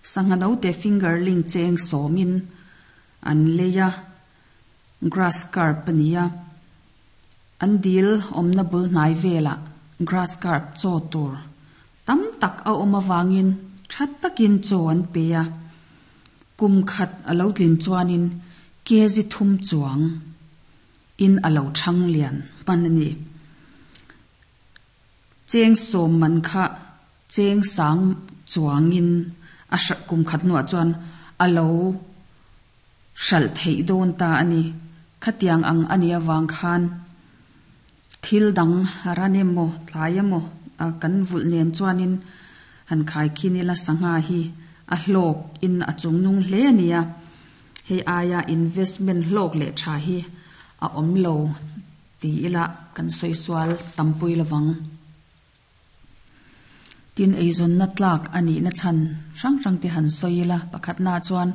Sangha note fingerling cheng sawmin an lei a grass carp a ni a an dil awmna bul hnai velah grass carp chaw tur tam tak a awm avangin tha takin chaw an pe a kum khat a lo tlin chuanin kg thum chuang in a lo thang lian hman a ni. Cheng sawm man kha cheng sang chuangin a hralh kum khat hnuah chuan a lo hralh theih dawn ta a ni. Khatiang ang a nih avang khan thil dang ran emaw tlai emaw kan vulh nen chuanin han khai khin ila sangha hi a hlawk in a chungnung hle a ni a. Hei aia investment hlawk leh tha hi a awm lo ti ila kan sawi sual tampui lovang. Tin, eizawnna tlak a nihna chhan hrang hrang te han sawi ila, pakhatnaah chuan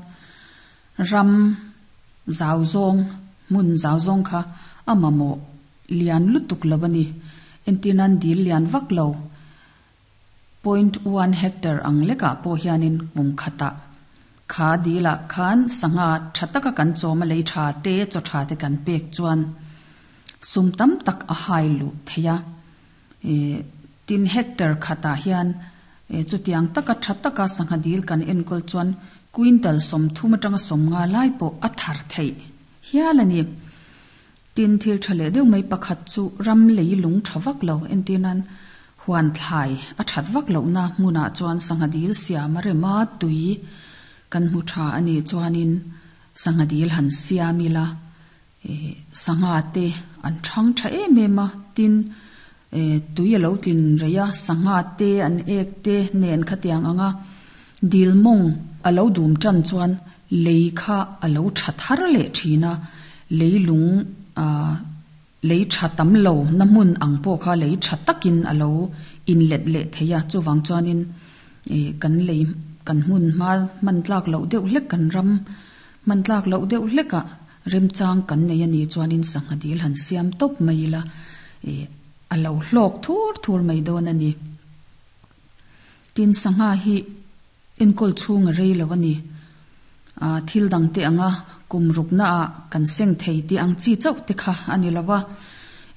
ram zau zawng, hmun zau zawng kha a mamawh lian lutuk lo a ni. Entirnan dil lian vak lo, point one hectare ang lekah pawh hianin kum khatah kha dilah khan sangha tha taka kan chawm a lei tha te, chaw tha te kan pek chuan sum tam tak a hai luh thei a. Tin hectare khatah hian chutiang taka tha taka sangha dil kan enkawl chuan quintal 30 atanga 50 lai pawh a thar theih hial a ni. Tin thil tha leh deuh mai pakhat chu ram lei lung tha vak lo entir nan huan thlai a that vak lohna hmunah chuan sangha dil siam a rem a, tui kan hmu tha a nih chuanin sangha dil han siam ila Sangha te an thang tha em em a, tin tui a lo tlin rei a, sangha te an ek te nen khatiang ang a, dil mawng a lo dum tan chuan lei kha a lo tha thar leh thin a, lei lung ah lei tha tam lo na hmun ang pawh kha lei tha takin a lo inlet leh thei a, chuvang chuanin kan lei kan hmun hma hman tlak loh deuh hlek kan ram hman tlak loh deuh hlekah Remchang kan nei a nih chuanin sangha dil han siam tawp mai ila ih a lo hlawk thur thur mai dawn a ni. Tin, sangha hi enkawl chhung a rei lo a ni. Ah thil dang te anga kum rukna ah kan seng thei tih ang chi chauh te kha a ni lo va.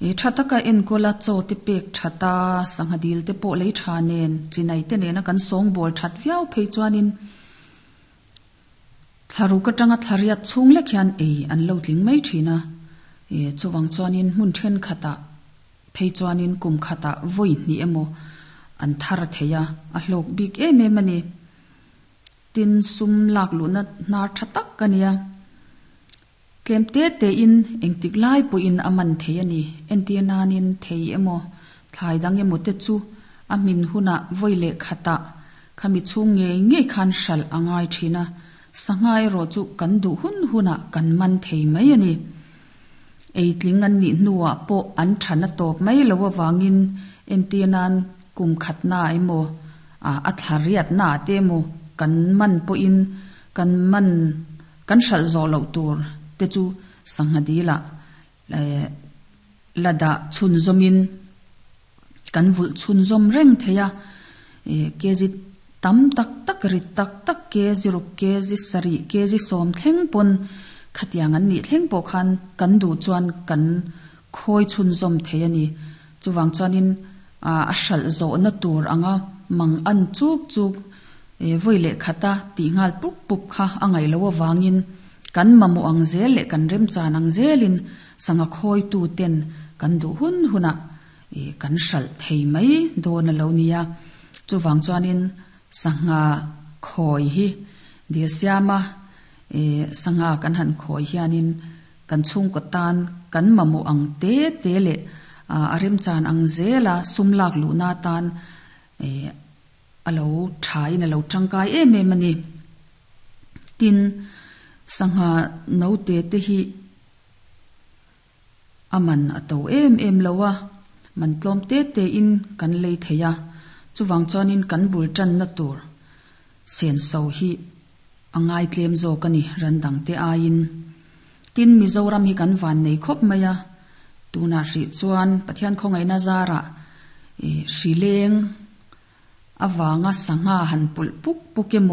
Ih tha taka enkawl a chaw te pek that a, sangha dil te pawh lei tha nen, chinai te nena kan sawngbawl that viau phei chuanin Thlaruk atanga thlariat chhung lek hian ei an lo tling mai thin a, e chuvang chuanin hmun thenkhatah phei chuanin kum khatah vawi hnih emaw an thar thei a, a hlawk bik em em a ni. Tin, sum lak luhna hnar tha tak a nia. Tlem te tein engtik lai pawhin a man thei a ni. Entir nanin thei emaw, thlai dang emaw te chu a hmin hunah vawi leh khatah khami chhung ngei ngei khan hralh a ngai thin a, sangha erawh chu kan duh hun hunah kan man thei mai a ni. Eitling an nih hnuah pawh an than a tawp mai lo avangin entir nan kum khatna emaw, a thla riatna te emaw kan man pawhin kan man Kan hralh zawh loh tur te chu sangha dilah la dah chhunzawmin kan vulh chhunzawm reng thei a, kg tam tak tak rit tak tak kg ruk kg sarih kg sawm thleng pawn khatiang an nih thleng pawh khan kan duh chuan kan khawi chhunzawm thei a ni. Chuvang chuanin a hralh zawhna tur anga mang an chuk chuk Vawi leh khata tih nghal pup pup kha a ngaih loh avangin kan mamawh ang zel leh kan remchan ang zelin sangha khawitu ten kan duh hun hunah kan hralh thei mai dawn a lo nia. Chuvang chuanin sangha khawi hi dil siama sangha kan han khawi hianin kan chhungkaw tan kan mamawh ang te te leh a remchan ang zela sum lak luhna atan A lo thain a lo tangkai em em a ni. Tin, sangha note te hi a man a to em em lo a, man tlawm te te in kan lei thei a, chuvang chuanin kan bul tanna tur senso hi a ngai tlem zawk a ni ran dang te aiin. Tin, Mizoram hi kan van nei khawp mai a, tunah hrih chuan Pathian khawngaihna zarah hrileng avanga sangha han pulh puk puk emaw?